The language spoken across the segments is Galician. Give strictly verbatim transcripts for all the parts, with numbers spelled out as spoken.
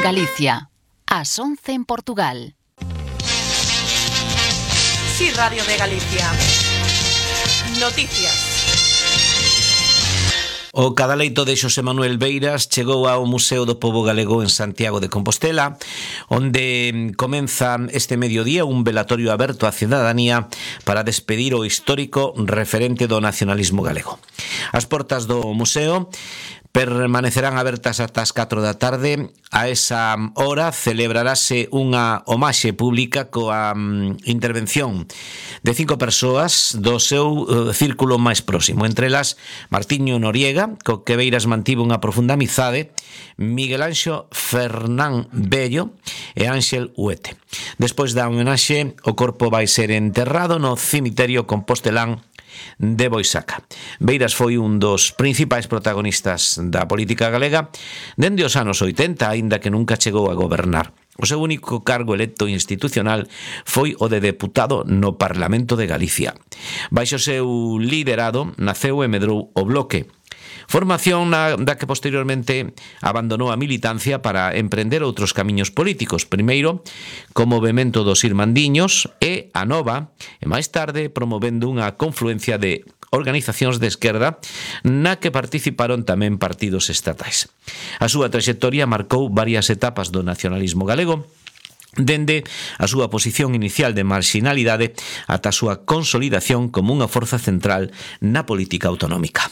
Galicia, ás once en Portugal. Sí, Radio de Galicia. Noticias. O cadaleito de Xosé Manuel Beiras chegou ao Museo do Pobo Galego en Santiago de Compostela, onde comeza este mediodía un velatorio aberto á cidadanía para despedir o histórico referente do nacionalismo galego. As portas do museo permanecerán abertas ata as catro da tarde. A esa hora celebrarase unha homaxe pública coa um, intervención de cinco persoas do seu uh, círculo máis próximo, entre elas Martiño Noriega, co que Beiras mantivo unha profunda amizade, Miguel Anxo Fernán Bello e Ángel Huete. Despois da homenaxe, o corpo vai ser enterrado no cemiterio compostelán de Boisaca. Beiras foi un dos principais protagonistas da política galega dende os anos oitenta, aínda que nunca chegou a gobernar. O seu único cargo electo institucional foi o de deputado no Parlamento de Galicia. Baixo o seu liderado naceu e medrou o Bloque, formación na, da que posteriormente abandonou a militancia para emprender outros camiños políticos, primeiro como movemento dos Irmandiños e a Nova, e máis tarde promovendo unha confluencia de organizacións de esquerda na que participaron tamén partidos estatais. A súa traxectoria marcou varias etapas do nacionalismo galego, dende a súa posición inicial de marxinalidade ata a súa consolidación como unha forza central na política autonómica.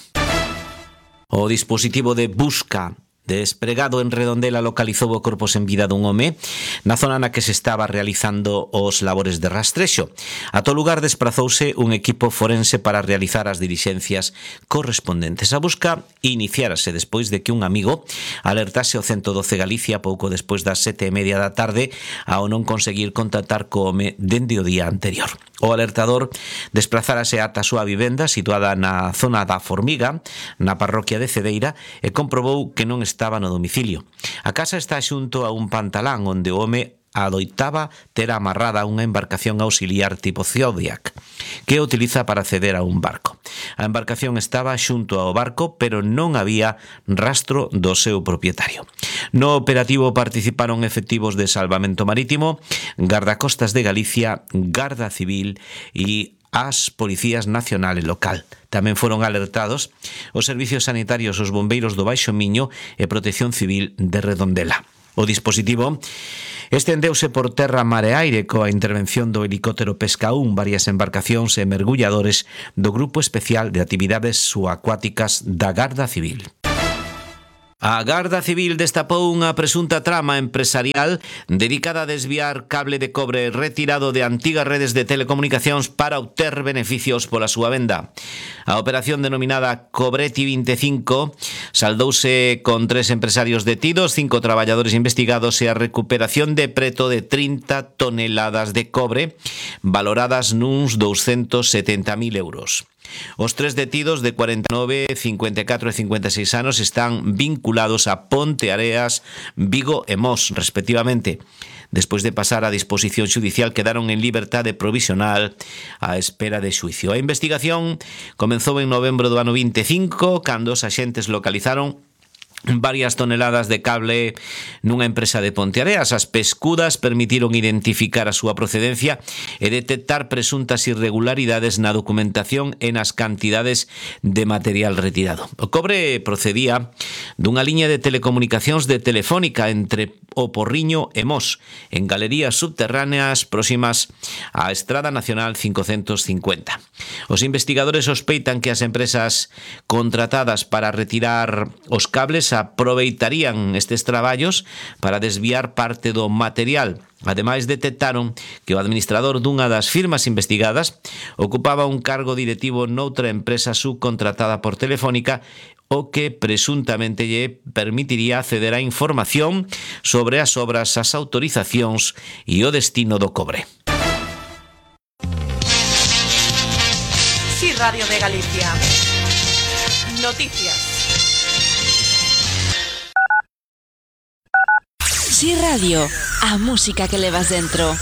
O dispositivo de busca despregado en Redondela localizou o corpo sen vida dun home na zona na que se estaba realizando os labores de rastrexo. A todo lugar desprazouse un equipo forense para realizar as dilixencias correspondentes. A busca iniciárase despois de que un amigo alertase ao ciento doce Galicia pouco despois das sete e media da tarde ao non conseguir contactar co home dende o día anterior. O alertador desplazárase ata a súa vivenda situada na zona da Formiga, na parroquia de Cedeira, e comprobou que non estaba no domicilio. A casa está xunto a un pantalán onde o home adoitaba ter amarrada unha embarcación auxiliar tipo Zodiac, que utiliza para acceder a un barco. A embarcación estaba xunto ao barco, pero non había rastro do seu propietario. No operativo participaron efectivos de salvamento marítimo, Gardacostas de Galicia, Garda Civil e as Policías Nacional e Local. Tamén foron alertados os servicios sanitarios, os bombeiros do Baixo Miño e Protección Civil de Redondela. O dispositivo estendeuse por terra, mar e aire coa intervención do helicóptero Pesca un, varias embarcacións e mergulladores do Grupo Especial de Actividades Subacuáticas da Garda Civil. A Garda Civil destapou unha presunta trama empresarial dedicada a desviar cable de cobre retirado de antigas redes de telecomunicacións para obter beneficios pola súa venda. A operación denominada Cobreti vinte e cinco saldouse con tres empresarios detidos, cinco traballadores investigados e a recuperación de preto de trinta toneladas de cobre valoradas nuns douscentos setenta mil euros. Os tres detidos de cuarenta e nove, cincuenta e catro e cincuenta e seis anos están vinculados a Ponteareas, Vigo e Mos, respectivamente. Despois de pasar a disposición xudicial, quedaron en liberdade provisional á espera de xuicio. A investigación comezou en novembro do ano vinte e cinco, cando os axentes localizaron varias toneladas de cable nunha empresa de Ponteareas. As pescudas permitiron identificar a súa procedencia e detectar presuntas irregularidades na documentación e nas cantidades de material retirado. O cobre procedía dunha liña de telecomunicacións de Telefónica entre o Porriño e Mos, en galerías subterráneas próximas á Estrada Nacional cincocentos cincuenta. Os investigadores sospeitan que as empresas contratadas para retirar os cables aproveitarían estes traballos para desviar parte do material. Ademais, detectaron que o administrador dunha das firmas investigadas ocupaba un cargo directivo noutra empresa subcontratada por Telefónica, o que presuntamente lle permitiría acceder a información sobre as obras, as autorizacións e o destino do cobre. Sí, Radio de Galicia. Noticias. Sí Radio, a música que levas dentro.